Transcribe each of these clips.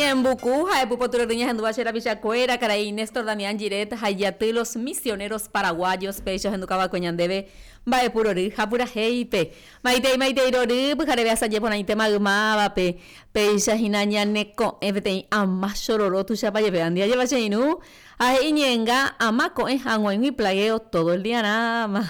Ñe'ẽmbuku ha'e pupoty rory ñahendúva che rapichakuéra, karai Néstor Damián Giret ha ijaty Los Misioneros Paraguayos péicha ohendukava'ekue ñandéve mba'epu rory ha purahéipe. Maitei maitei rory, pyhareve asaje porãite maymávape, péicha hína ñaneko'ẽ peteĩ ama chororo tuichapa jepe andy ajépa che irũ Ha he'i ñe'ẽnga ama ko'ẽ hag̃uaig̃ui plagueo todo el diarãma.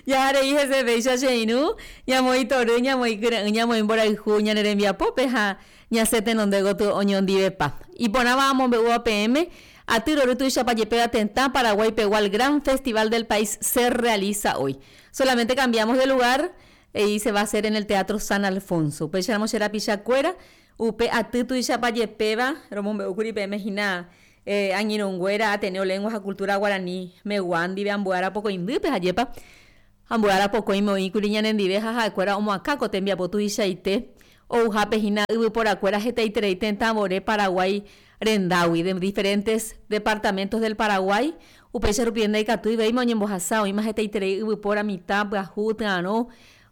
Jaha rei hese péicha che irũ, ñamoĩ tory, ñamoĩ kyre'ỹ, ñamoĩ mborayhu ñane rembiapópe ha ñasẽ tenonde gotyo oñondivepa. Iporãva amombe'úva peẽme, aty rory tuichapa jepéva tetã Paraguái pegua el gran festival del país se realiza hoy. Solamente cambiamos de lugar y se va a hacer en el Teatro San Alfonso. Upéicharamo che rapichakuéra, Upe aty tuichapa jepéva romombe'úkuri peẽme hína angirũnguéra Ateneo Lengua ha Cultura Guarani megua ndive ambue ára pokõindýpe ha jépa ambue ára pokõime oĩkuri ñanendive ha ha'ekuéra omoakã ko tembiapo tuichaite ouhápe hína yvyporakuéra hetaiterei tetã vore Paraguái rendágui de diferentes departamentos del Paraguay upéicha rupive ndaikatúi véima oñembohasa oĩma hetaiterei yvypóra mitã pyahu tyarõ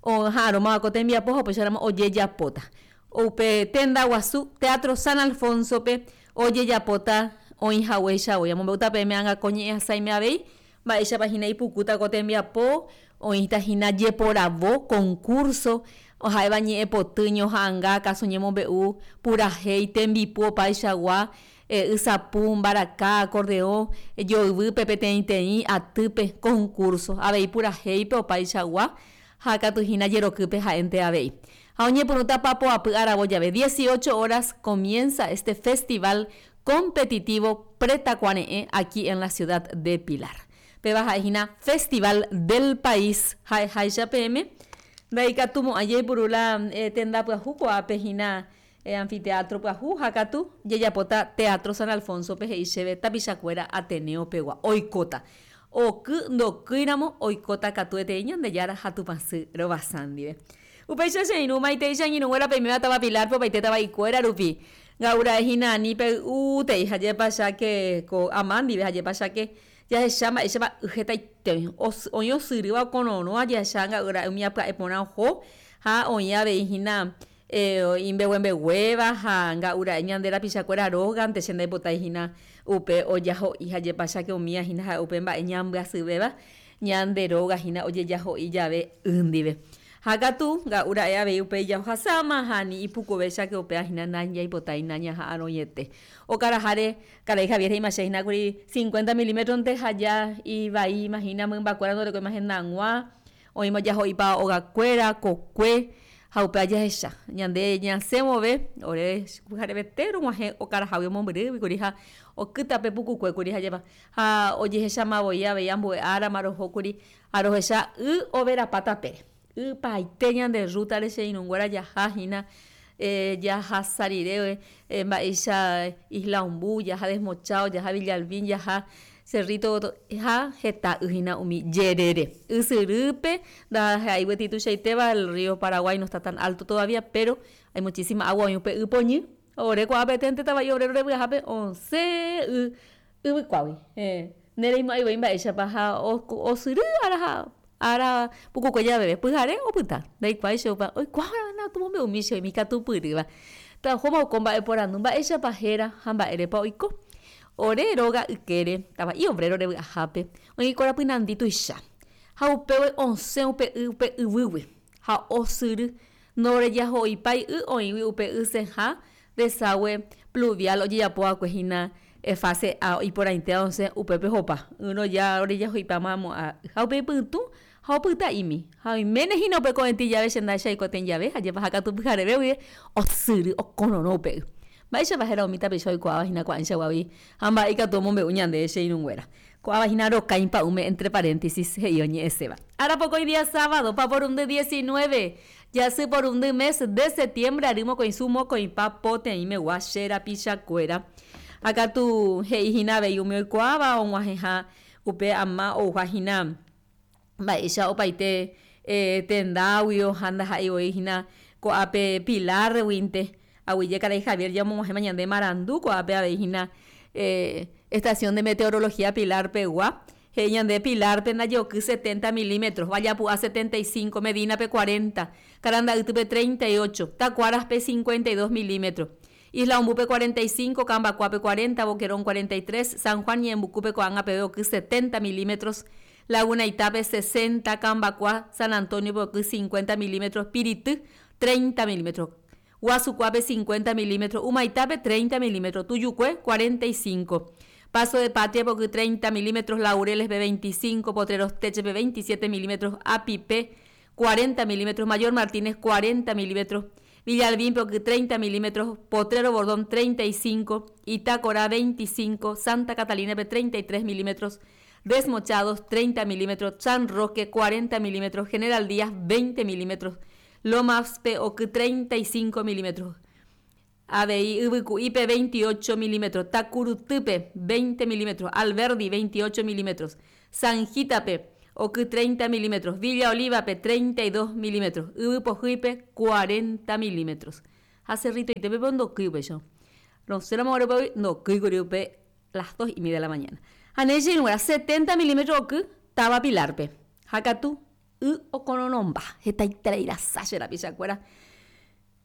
oha'arõmava ko tembiapo ha upéicharamo ojejapóta. Upe tenda guasu Teatro San Alfonso-pe ojejapóta oĩ haguéicha voi. Amombe'úta peẽme ág̃a ko ñe'ẽ asãime avei, mba'éichapa hína ipukúta ko tembiapo, oĩta hína jeporavo, concurso, ha'éva ñe'ẽpoty, ñoha'ãnga, káso ñemombe'u, purahéi, tembipu opaichagua, ysapu, mbaraka, acordeõ, joyvýpe peteĩteĩ, atýpe, concurso, avei purahéipe opaichagua, ha katu hína jerokýpe ha'énte avei. Ha oñepyrũta papoapy aravo jave, 18 horas comienza este festival competitivo Pretakuare'ẽ aquí en la ciudad de Pilar. Péva ha'e hína Festival del País ha'eháicha peẽme, ndaikatumo'ãi jaipuru la tenda pyahu ko'ápe hína anfiteatro pyahu ha katu jajapóta Teatro San Alfonso-pe he'i chéve tapichakuéra Ateneo pegua oikóta. Oky ndokýiramo oikóta katuetei Ñandejára ha Tupãsy rovasa ndive. Upéicha che irũ maitei che angirũnguéra peiméva táva Pilar-pe opaite tava'ikuéra rupi. Nga'ura'e hína ani pey'útei ha jepa cháke ko ama ndive ha jepa cháke jahecha mba'éichapa y hetaite oĩ. Oĩ osyrýva okororõva jahecha nga'ura'e umi pya'e porã oho ha oĩ avei hína imbeguembeguéva ha nga'ura'e ñande rapichakuéra rógante che ndaipotái hína upe ojaho'i ha jepa cháke umíva hína ha'e upe mba'e ñambyasyvéva ñande róga hína ojejaho'i jave y ndive. Ha katu, nga'u ra'e avei upe ijahohasáma ha ani ipukuve cháke upéva hína nañaipotái nañaha'arõiete. Okaraháre, karai Javier he'íma che hína kuri cincuenta milímetronte ha ja ivaíma hína mymbakuéra ndorekóima hendag̃ua, Oĩma ojaho'ipa ogakuéra, kokue, ha upéva jahecha. Ñande ñasẽ vove, ore pyharevete rog̃uahẽ okarahágui omombyrýgui kuri ha oky tape pukukue kuri ha jeva. Ha ojehecháma voi avei ambue árama roho kuri ha rohecha y overapa tapére. Y paite ñande rrútare che irũnguéra jaha hína jahasa rire mba'éicha Isla Ombú, jaha Desmochado, jaha Villalbín, jaha Cerrito ha heta y hína umi jerére. Ysyrýpe ndaha'éi gueteri tuichaitéva, el río Paraguay no está tan alto todavía, pero hay muchísima agua oĩ upe y poñy. Ore ko'ápe eténte tava'i obrero revy'ahápe osẽ y yvykuágui. Nereimo'ãi voi mba'éichapa ha osyry ára ha ára pukukue javeve. Pyhare opyta. Ndaikuaái che opa oikuaárõ omombe'umi che oime ikatupyrýva. Tahóma oko mba'eporandu mba'éichapa héra ha mba'érepa oiko. Ore róga ykére, tava'i obrero revy'ahápe, oĩ korapy nandi tuicha. Ha upégui osẽ upe y upe yvýgui, ha osyry, ndorejaho'ipái y oĩgui upe ysẽha desagũe pluvial ojejapo va'ekue hína fase A iporãitéva osẽ upépe hopa, ỹrõ ja orejaho'ipáma mo'ã y. Ha upe ipytũ ha opyta'imi. Ha oiméne hína upe ko'ẽtĩ jave che ndahechái ko'ẽtĩ jave, ha jepaha katu pyhareve guive osyry okororõ upe y. Mba'éichapa héra umi tapicha oikuaáva hína ko'ãichaguágui ha mba'e ikatu omombe'u ñandéve che irũnguéra? Ko'ãva hína rokãi pa'ũme entre paréntesis he'i oñe'ẽséva. Ára pokõi día sábado, paporundy 19, jasy porundy mes de setiembre ary mokõisu mokõipa poteĩmegua che rapichakuéra. Ha katu he'i hína avei umi oikuaáva og̃uahẽha upe ama ouha hína Mba'éicha opaite tendáguio ha ndaha'éi voi hína ko'ápe Pilar-guinte. Aguyje karai Javier jamog̃uahẽma ñande marandu ko'ápe avei hína Estación de Meteorología Pilar pegua. He'i ñande Pilar-pe ndajeoky setenta milímetros, Vallapu'a setenta y cinco, Medina-pe cuarenta, Karanda'ytýpe treinta y ocho, Takuaras-pe cincuenta y dos milímetros. Isla Ombúpe 45, Kambakuápe 40, Boquerón 43, San Juan Ñe'ẽmbukúpe ko'ág̃a peve oky 70 milímetros, Laguna Itápe 60, Kambakua, San Antonio-pe oky 50 milímetros, Pirity 30 milímetros, Guasukuápe 50 milímetros, Humaitápe 30 milímetros, Tuyukue 45, Paso de Patria-pe oky 30 milímetros, Laureles-pe 25, Potreros Teche-pe 27 milímetros, Apipe 40 milímetros, Mayor Martínez 40 milímetros, Villalbín-pe oky 30 milímetros, Potrero Bordón 35, Itakorá 25, Santa Catalina-pe 33 milímetros, Desmochados 30 milímetros, San Roque 40 milímetros, General Díaz 20 milímetros, Lomas-pe oky 35 milímetros, avei Yvyku'ípe 28 milímetros, Takurutýpe 20 milímetros, Alberdi 28 milímetros, Sanjítape oky 30 milímetros, Villa Oliva-pe 32 milímetros, Yvypohýipe 40 milímetros. Ha Cerritoitépe ndokýi upéicha. Rosẽramo guare upégui ndokýikuri upe las dos y media de la mañana. Ha ne che irũnguéra, 70 milímetros oky táva Pilar-pe. Ha katu y okororõmba hetaiterei rasa che rapichakuéra.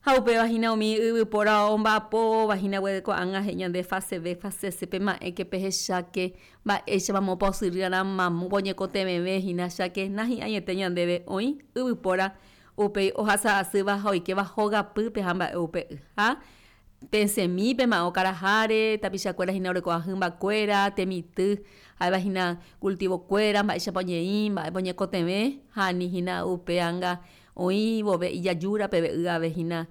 Ha upéva hína umi yvypóra omba'apóva hína gueteri ko'ág̃a he'i ñande fase B, fase C pema'ẽke pehecháke mba'éichapa moõpa osyry'arã mamópa oñekotevẽve hína cháke nahi'ãiete ñandéve oĩ yvypóra upéi ohasa asýva ha oikéva hogapýpe ha mba'e upe y. Ha pesẽmi pema'ẽ okaraháre tapichakuéra hína orekóva hymbakuéra, temitỹ, ha'éva hína cultivo-kuéra, mba'éichapa oñeĩ, mba'épa oñekotevẽ ha ani hína upe anga Oĩ vove ijajúra peve y ave hína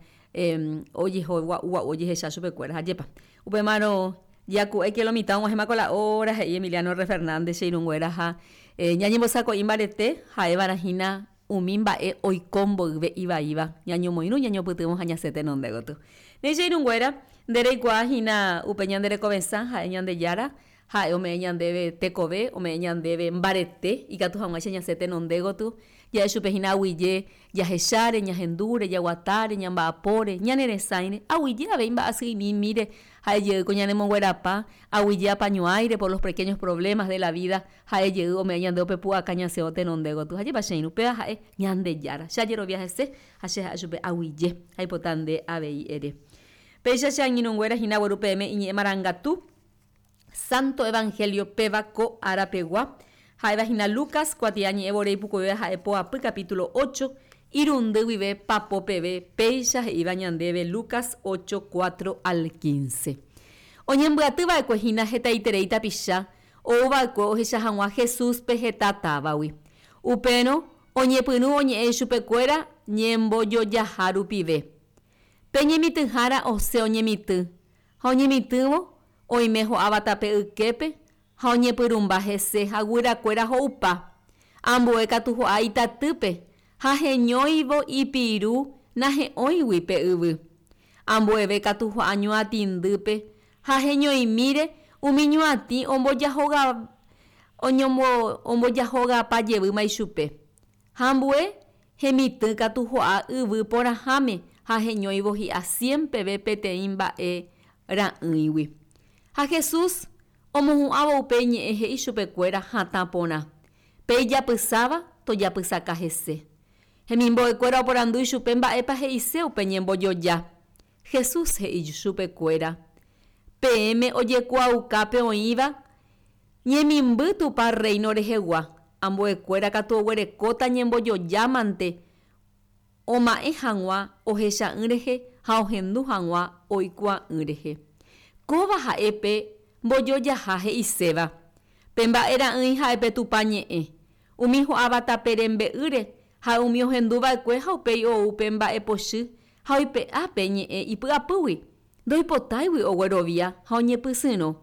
ojeho gua'u gua'u ojehecha chupekuéra. Ha jepa. Upémarõ jaku'éke lo mitã og̃uahẽma ko la óra, he'i Emiliano R. Fernández che irũnguéra ha ñañembosako'i mbarete ha'eva'erã hína umi mba'e oiko mboyve ivaíva ñañomoirũ, ñañopytyvõ ha ñasẽ tenonde gotyo. Ne che irũnguéra, nde reikuaa hína upe ñande rekovesã ha'e Ñandejára Ha'e ome'ẽ ñandéve tekove, ome'ẽ ñandéve mbarete ikatu hag̃uáicha ñasẽ tenonde gotyo, ja'e chupe hína aguyje jahecháre, ñahendúre, jaguatáre, ñamba'apóre, ñane resãire, aguyje avei mba'asy'imimíre, ha'e jey ko ñanemonguerapa, aguyje apañuãire por los pequeños problemas de la vida, ha'e jey ome'ẽ ñandéve upe pu'aka ñasẽvo tenonde gotyo. Ha jepa che irũ, upéva ha'e Ñandejára. Che ajerovia hese ha che ha'e chupe aguyje, aipota nde avei ere. Péicha che angirũnguéra hína agueru peẽme iñe'ẽ marangatu. Santo Evangelio péva ko ára pegua, ha'éva hína Lucas kuatia ñe'ẽ vore ipukuvéva ha'e poapy capítulo ocho, irundy guive papo peve, péicha he'íva ñandéve Lucas ocho, cuatro al quince. Oñembyaty va'ekue hína hetaiterei tapicha ou va'ekue ohecha hag̃ua Jesús-pe heta távagui. Upérõ oñepyrũ oñe'ẽ ichupekuéra ñembojojaha rupive. Pe ñemitỹhára osẽ oñemitỹ, Ha oñemitỹvo, oime ho'áva tape yképe ha oñepyrũmba hese ha guyrakuéra ho'upa. Ambue katu ho'a itatýpe ha heñóivo ipiru nahe'õigui pe yvy. Ambueve katu ho'a ñuatĩndýpe ha heñoimíre umi ñuatĩ ombojahogapa jevýma ichupe. Ha ambue hemitỹ katu ho'a yvy porãháme ha heñóivo hi'a cien peve peteĩ mba'e ra'ỹigui. Ha Jesús omohu'ãvo upe iñe'ẽ he'i chupekuéra hatã porã, Pe ijapysáva tojapysaka hese. Hemimbo'ekuéra oporandu ichupe mba'épa he'ise upe ñembojoja. Jesús he'i chupekuéra, Peẽme ojekuaauka pe oĩva Ñemimby Tupã Rréino rehegua, ambuekuéra katu oguerekóta ñembojojámante oma'ẽ hag̃ua ohecha'ỹ rehe ha ohendu hag̃ua oikuaa'ỹ rehe. Kóva ha'e pe mbojojaha he'iséva, Pe mba'e ra'ỹi ha'e pe Tupã ñe'ẽ, umi ho'áva tape rembe'ýre ha umi ohendu va'ekue ha upéi ou pe mba'e pochy ha oipe'a pe ñe'ẽ ipy'apýgui, ndoipotáigui oguerovia ha oñepysyrõ.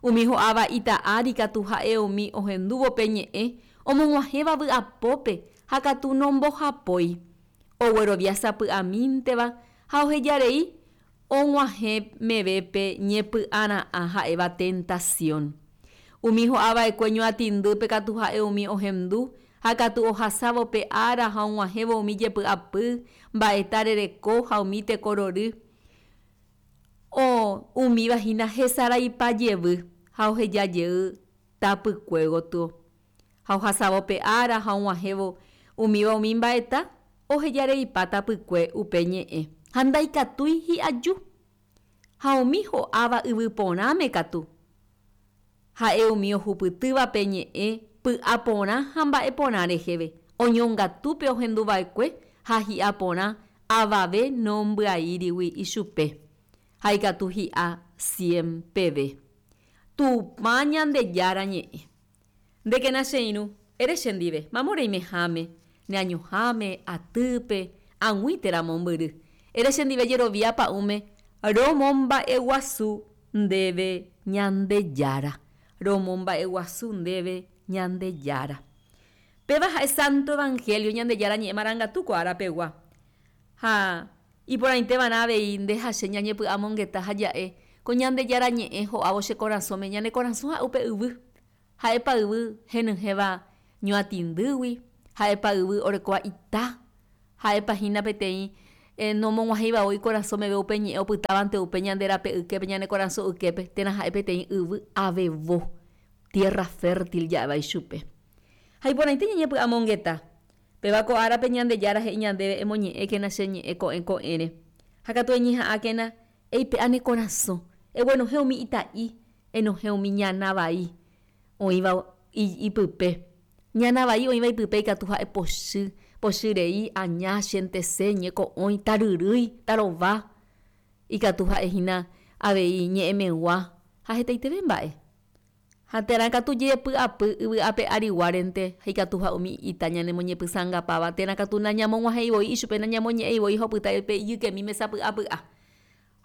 Umi ho'áva ita ári katu ha'e umi ohendúvo pe ñe'ẽ omog̃uahẽva vy'apópe ha katu nombohapói. Oguerovia sapy'amínteva ha ohejarei og̃uahẽ meve pe ñepy'ara'ã ha'éva tentasión. Umi ho'ava'ekue ñuatĩndýpe katu ha'e umi ohendu ha katu ohasávo pe ára ha og̃uahẽvo umi jepy'apy, mba'eta rereko ha umi teko rory. O, umíva hína hesaraipa jevy ha oheja jey tapykue gotyo. Ha ohasávo pe ára ha og̃uahẽvo umíva umi mba'eta, ohejareipa tapykue upe ñe'ẽ, ha ndaikatúi hi'aju. Ha umi ho'áva yvy porãme katu, ha'e umi ohupytýva pe ñe'ẽ py'a porã ha mba'e porã reheve, oñongatu pe ohenduva'ekue ha hi'a porã avave nombyaírigui ichupe, ha ikatu hi'a cien peve. Tupã Ñandejára ñe'ẽ. Ndékena che irũ, ere chendive, mamo reimeháme, ne añoháme, atýpe, ag̃ui térã mombyry. Ere chendive jerovia pa'ũme, Romomba'eguasu ndéve Ñandejára. Romomba'eguasu ndéve Ñandejára. Péva ha'e Santo Evangelio Ñandejára ñe'ẽ marangatu ko ára pegua. Ha iporãiteva'erã avei nde ha che ñañepy'amongeta ha ja'e ko Ñandejára ñe'ẽ ho'ávo che korasõme, ñane korasõ ha'e upe yvy. Ha'épa yvy henyhẽva ñuatĩndýgui, ha'épa yvy orekóva ita, ha'épa hína peteĩ nomog̃uahẽiva voi ikorasõ meve upe ñe'ẽ opytávante upe ñande rape yképe, ñane korasõ yképe, térã ha'e peteĩ yvy avevo, tierra fértil ja'éva ichupe. Ha iporãite ñañepy'amongeta, péva ko árape Ñandejára he'i ñandéve emoñe'ẽkena che ñe'ẽ ko'ẽ ko'ẽre, ha katu eñeha'ãkena Eipe'a ne korasõ, eguenohẽ umi ita'i, enohẽ umi ñana vai oĩva ipype. Ñana vai oĩva ipype ikatu ha'e pochy, pochy rei, aña, chentese, ñeko'õi, taryrýi, tarova. Ikatu ha'e hína avei ñe'ẽmegua ha hetaiteve mba'e. Ha térã katu jepy'apy yvy ape ariguárente ha ikatu ha umi ita ñanemoñepysãngapáva, térã katu nañamog̃uahẽi voi ichupe, nañamoñe'ẽi voi ha opyta pe ijykemíme sapy'apy'a.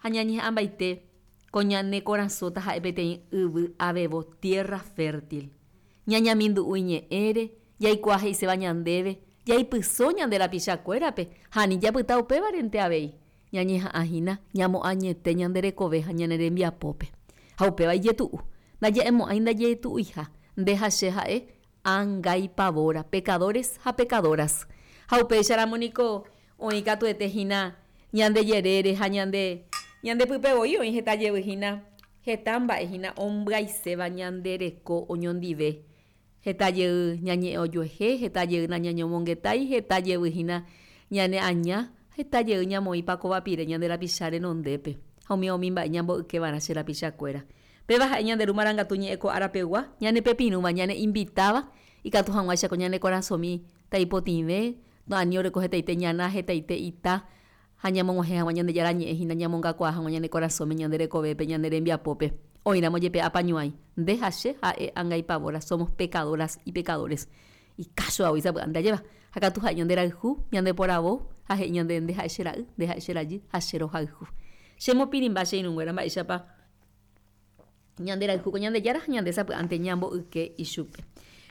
Ha ñañeha'ãmbaite ko ñane korasõ taha'e peteĩ yvy avevo, tierra fértil. Ñañamindu'u iñe'ẽre, jaikuaa he'iséva ñandéve, jaipyso ñande rapichakuérape ha ani japyta upévarente avei. Ñañeha'ã hína ñamoañete ñande rekove ha ñane rembiapópe. Ha upéva ijetu'u. Ndaja'emo'ãi ndajetu'uiha, nde ha che ha'e angaipavóra, pecadores ha pecadoras. Ha upéicharamo niko oĩ katuete hína ñande jerére ha ñande ñande pype voi oĩ heta jevy hína, heta mba'e hína ombyaiséva ñande reko oñondive. Heta jey ñañe'ẽ ojuehe, heta jey nañañomongetái, heta jevy hína ñane aña, heta jey ñamoĩpa kóva pire ñande rapicha renondépe, ha umíva umi mba'e ñambo'ykevarã che rapichakuéra. Péva ha'e ñande Ru Marangatu ñe'ẽ ko ára pegua, ñane pepirũva, ñane invitáva, ikatu hag̃uáicha ko ñane korasõmi taipotĩve, ani oreko hetaite ñana, hetaite ita, ha ñamog̃uahẽ hag̃ua Ñandejára ñe'ẽ hína ñamongakuaa hag̃ua ñane korasõme, ñande rekovépe, ñane rembiapópe. Oĩramo jepe apañuãi, nde ha che ha'e angaipavóra, somos pecadoras y pecadores. Ikácho avoi sapy'ánte ajéva. Ha katu ha'e ñande rayhu, ñande poravo, ha he'i ñande nde ha'e che ra'y, nde ha'e che rajy, ha che rohayhu. Che mopirĩmba che irũnguéra mba'éichapa Ñande rayhu ko Ñandejára ha ñande sapy'ánte ñamboyke ichupe.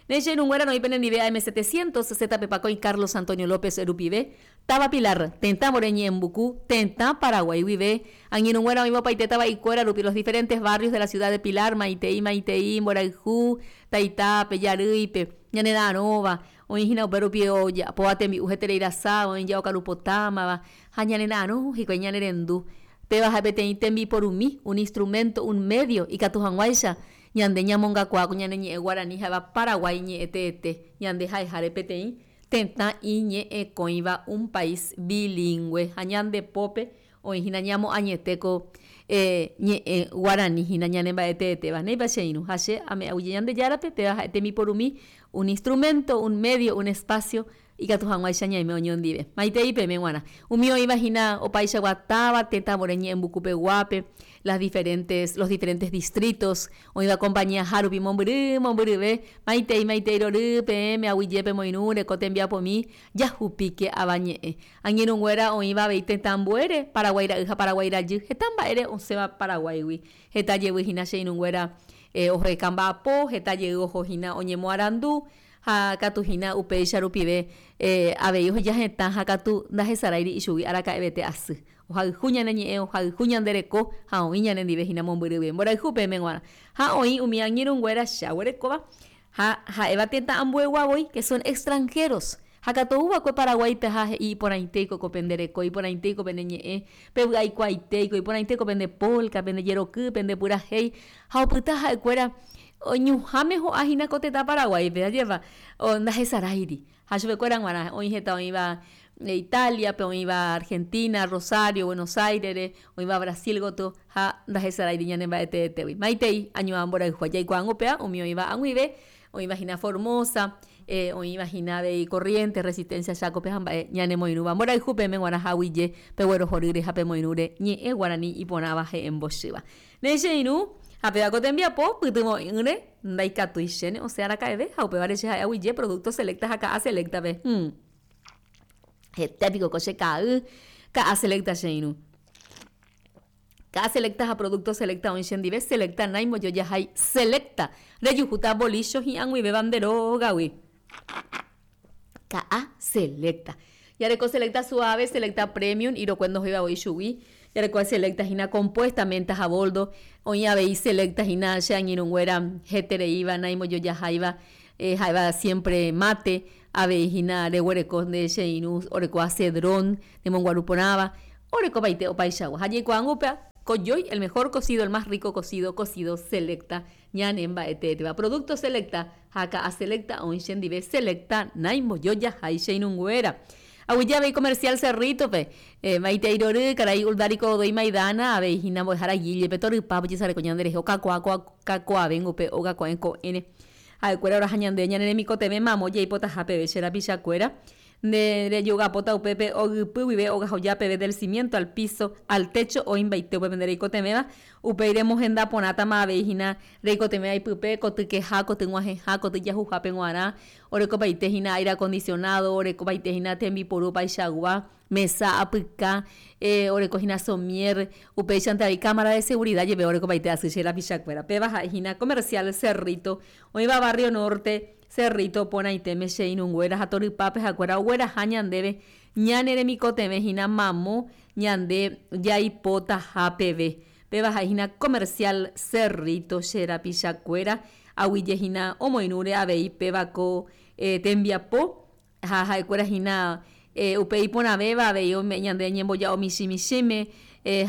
Ne che irũnguéra roĩ penendive AM 700, ZP Pakõi Carlos Antonio López rupive, Táva Pilar, Tetãvore Ñe'ẽmbuku, Tetã Paraguái guive. Angirũnguéra oĩva opaite tava'ikuéra rupi los diferentes barrios de la ciudad de Pilar, maitei, maitei, mborayhu, taitápe, jarýipe, ñane ra'arõva, oĩ hína upe rupi ojapóva tembi'u heterei rasa, oĩ jaokarupotámava, ha ñane ra'arõ hikuái ñane rendu. Péva ha'e peteĩ tembiporumi, un instrumento, un medio, ikatu hag̃uáicha ñande ñamongakuaa ko ñane ñe'ẽ guarani ha'éva Paraguái ñe'ẽ teete, ñande ha'eháre peteĩ tetã iñe'ẽkõiva, un país bilingũe, ha ñande pópe oĩ hína ñamoañete ko ñe'ẽ guarani hína ñane mba'e teetéva. Néipa che irũ ha che ame'ẽguyje Ñandejárape, péva ha'e tembiporumi, un instrumento, un medio, un espacio Ikatu hag̃uáicha ñaime oñondive. Maitei peẽme g̃uarã. Umi oĩva hína opaichagua táva, tetãvore ñe'ẽmbukupeguápe, las diferentes, los diferentes distritos, oĩva compañía hárupi mombyry, mombyryve, maitei, maitei rory, peẽme aguyje pemoirũre ko tembiapomi, jahupíke avañe'ẽ. Angirũnguéra oĩva avei tetã ambuére, Paraguái ra'y ha Paraguái rajy, heta mba'ére osẽva Paraguáigui. Heta jevy hína che irũnguéra oheka mba'apo, heta jey oho hína oñemoarandu, Ha katu hína upéicha rupive avei oheja hetã ha katu ndahesaráiri ichugui araka'evete asy. Ohayhu ñane ñe'ẽ, ohayhu ñande reko ha oĩ ñane ndive hína mombyryve mborayhu peẽme g̃uarã. Ha oĩ umi angirũnguéra che aguerekóva ha ha'éva tetã ambuegua voi, que son extranjeros. Ha katu ou va'ekue Paraguáipe ha he'i iporãitéiko ko pende reko, iporãitéiko pene ñe'ẽ, pevy'aikuaaitéiko, iporãitéiko pende polka, pende jeroky, pende purahéi. Ha opyta ha'ekuéra Oñuhãme ho'a hína ko tetã Paraguáipe, ajépa ndahesaráiri. Ha chupekuéra g̃uarã oĩ heta oĩva Italia-pe, oĩva Argentina, Rosario, Buenos Aires-re, oĩva Brasil gotyo ha ndahesaráiri ñane mba'eteetégui. Maitei añuã mborayhu jaikuaángo upéva umi oĩva ag̃uive, oĩva hína Formosa, oĩva hína avei Corrientes, Resistencia, Chaco-pe ha mba'e ñanemoirũva. Mborayhu peẽme g̃uarã ha aguyje peguerohorýre ha pemoirũre ñe'ẽ guarani iporãva he'ẽmbochýva. Ne che irũ, ha péva ko tembiapo pytyvõ'ỹre ndaikatúi chéne osẽ araka'eve ha upévare che ha'e aguyje Producto Selecta ha Ka'a Selecta-pe. Hum. Hete piko ko che ka'ay, Ka'a Selecta che irũ. Ka'a Selecta ha Producto Selecta oĩ chendive, Selecta naimojojahái, Selecta! Rejuhúta bolícho hi'ag̃uivéva nde rógagui. Ka'a Selecta. Jareko Selecta Suave, Selecta Premium, irokue ndohóiva voi chugui. Jareko Selecta hína compuesta, menta ha boldo. Oĩ avei Selecta hína che angirũnguéra hetereíva, naimbojojaháiva, ha'éva siempre mate. Avei hína reguereko nde che irũ orekóva cedrón, nemonguaru porãva, orekovaite opaichagua. Ha jaikuaángo upéva, kojói, el mejor cocido, el más rico cocido, cocido Selecta ñane mba'eteéteva. Producto Selecta ha ka'a Selecta oĩ chendive Selecta naimbojojaha che irũnguéra. Aguyje avei Comercial Cerrito-pe, maitei rory, karai Uldarico Godoy Maidana, avei hína mbo'ehára Guille-pe torypa ojesareko ñanderehe okakuaa kakuaavéngo upe óga ko'ẽ ko'ẽre. Ha'ekuéra oraha ñande ñane remikotevẽ mamo jaipotaha peve che rapichakuéra. Nde rejogapóta upépe ogypy guive ogahoja peve del cimiento al piso, al techo oĩmbaite upépe nde reikotevẽva, upéi remohenda porãtama avei hína reikotevẽva ipype, koty keha, koty g̃uahẽha, koty jahuhápe g̃uarã, orekopaite hína aire acondicionado, orekopaite hína tembiporu opaichagua, mesa, apyka, oreko hína somier, upéichante avei cámara de seguridad jepe orekopaite asy che rapichakuéra. Péva ha'e hína Comercial Cerrito, oĩva Barrio Norte, Cerrito porãitéme che irũnguéra ha torypápe hakuéra ogueraha ñandéve ñane remikotevẽ hína mamo ñande jaipotaha peve. Péva ha'e hína Comercial Cerrito che rapichakuéra aguije hína omoirũre avei péva ko tembiapo Ha ha'ekuéra hína upe iporãvéva avei ome'ẽ ñande ñemboja'o michĩ michĩme,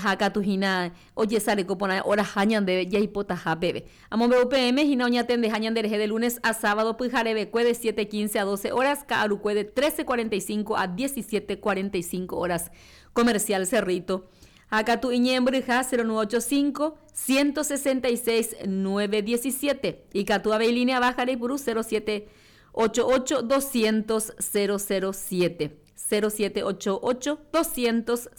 ha katu hína ojesareko porã oraha ñandéve jaipotaha peve. Amombe'u peẽme hína oñatendeha ñanderehe de lunes a sábado pyharevekue de 7:15 a 12 horas, ka'arukue de 13:45 a 17:45 horas. Comercial Cerrito. Ha katu iñe'ẽmbyryha 0985 166 917. Ikatu avei línea baja reipuru 07 88 200 007, 0788 200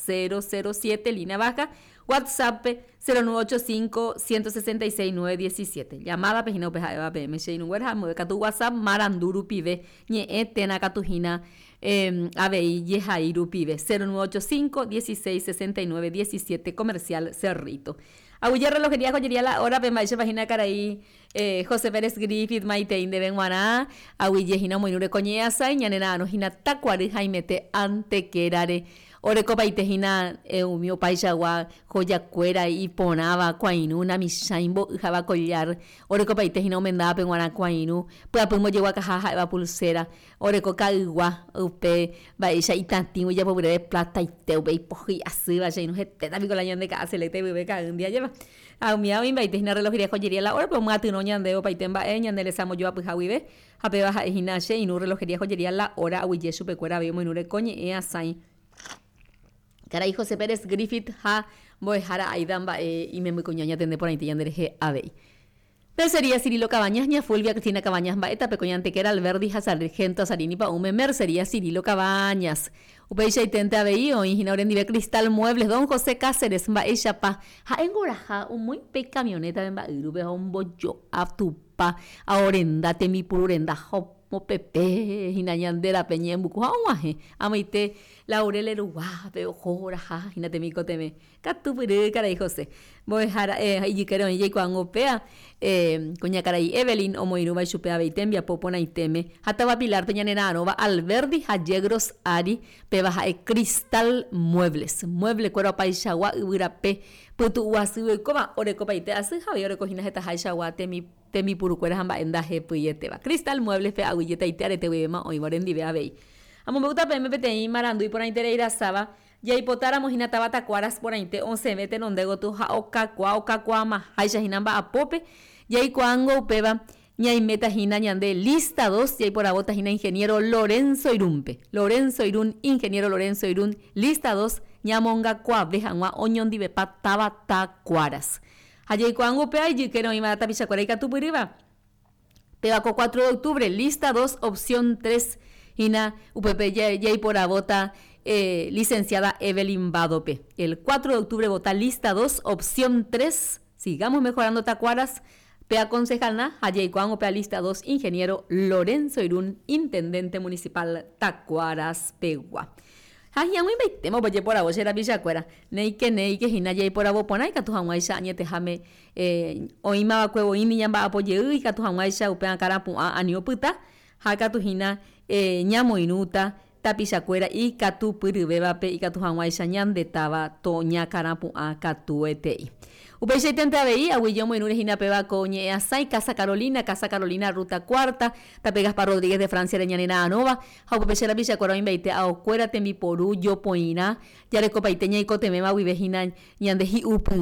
007, línea baja, WhatsApp-pe 0985 166 917. Llamada-pe hína upe ha'éva peẽme che irũnguéra ha ambue katu WhatsApp marandu rupive, ñe'ẽ térã katu hína avei jehai rupive, 0985 16 69 17, Comercial Cerrito. Aguyje relojería joyería la hora-pe mba'éichapa hína karai José Pérez Griffith maitei ndéve g̃uarã, aguyje hína omoirũre ko ñe'ẽasãi, ñane ra'arõ hína takuary haimete antekérare. Orekopaite hína umi opaichagua jojakuéra iporãva, kuãirũ, namichãi, mbo'y ha'éva collar, orekopaite hína omendávape g̃uarã kuãirũ, pyapy mbojeguakaha ha'éva pulsera, oreko ka'ygua upe mba'éicha itatĩgui ijapopyrére plataite upe ipohýi asýva che irũ hetéta piko la ñande ka'a selecta ipype ka'ýndi ajépa. Ha umíva oĩmbaite hína reloj joyería la hora-pe omyatyrõ ñandéve opaite mba'e ñande resa mbojoapyha guive, ha péva ha'e hína che irũ relojería joyería la hora aguyje chupekuéra avei omoirũre ko ñe'ẽ asãi. Karai José Pérez Griffith ha mbo'ehára Aida mba'e imembykuña oñatende porãite ñanderehe avei. Mercería Cirilo Cabañas, ña Fulvia Cristina Cabañas mba'e tape ko Ñantequera Alberdi ha Sargento Azarini pa'ũme Mercería Cirilo Cabañas. Upeichaiténte avei oĩ hína orendive Cristal Muebles, don José Cáceres, mba'éichapa ha'éngo oraha omoĩ pe camioneta-pe mba'yrúpe ha ombojo'a tupa aorenda tembipuru renda ha omopepe hína ñande rape ñe'ẽmbuku ha og̃uahẽ amoite Laurel ruguápe oho oraha hína temikotevẽ. Katupyry karai José. Mbo'ehára ijykére oĩ jaikuaángo upéva, kuñakarai Evelyn omoirũva ichupe avei tembiapo porãitéme ha táva Pilar-pe ñanera'arõva Alberdi ha Yegros ári, péva ha'e Cristal Muebles. Mueble-kuéra opaichagua yvyrape pytu'u asýgui oikóva, orekopaite asy ha avei oreko hína hetaháichagua tembipurukuéra ha mba'e ndahepyetéva. Cristal Muebles-pe aguyjetaite arete guivéma oĩva orendive avei. Amombe'úta peẽme peteĩ marandu iporãiterei rasáva Jaipotáramo hína táva Takuaras porãite osẽve tenonde gotyo ha okakuaa okakuaamaháicha hína mba'apópe, jaikuaángo upéva. Ñaiméta hína ñande lista dos, jaiporavóta hína ingeniero Lorenzo Irún-pe. Lorenzo Irún, ingeniero Lorenzo Irún, lista dos, ñamongakuaave hag̃ua oñondivepa táva Takuaras. Ha jaikuaángo upéva ijykére oĩva tapichakuéra ikatupyrýva. Péva ko cuatro de octubre, lista dos, opción tres hína upépe jaiporavóta licenciada Evelyn Bado-pe. El cuatro de octubre vota lista dos, opción tres, sigamos mejorando Takuaras, péva concejal-na ha jaikuaángo péva lista dos, ingeniero Lorenzo Irún, intendente municipal Takuaras pegua. Ha hi'ag̃uimbaitéma upe jeporavo che rapichakuéra, néike néike hína jaiporavo porã ikatu hag̃uáicha añeteháme oĩmava'ekue voími ñamba'apo jey ikatu hag̃uáicha upe akãrapu'ã ani opyta ha katu hína ñamoirũta tapichakuéra ikatupyryvévape ikatu hag̃uáicha ñande táva toñakãrapu'ã katuetei. Upeichaitente avei, aguyje omoirũre hína péva ko ñe'ẽ'asãi Casa Carolina, Casa Carolina Ruta Cuarta, tape Gaspar Rodríguez de Francia-re ñanera'arõva, ha upépe che rapichakuéra oĩmbaite aokuéra tembiporu jopoirã jarekopaite ñaikotevẽva guive hína ñande hi'upyrã.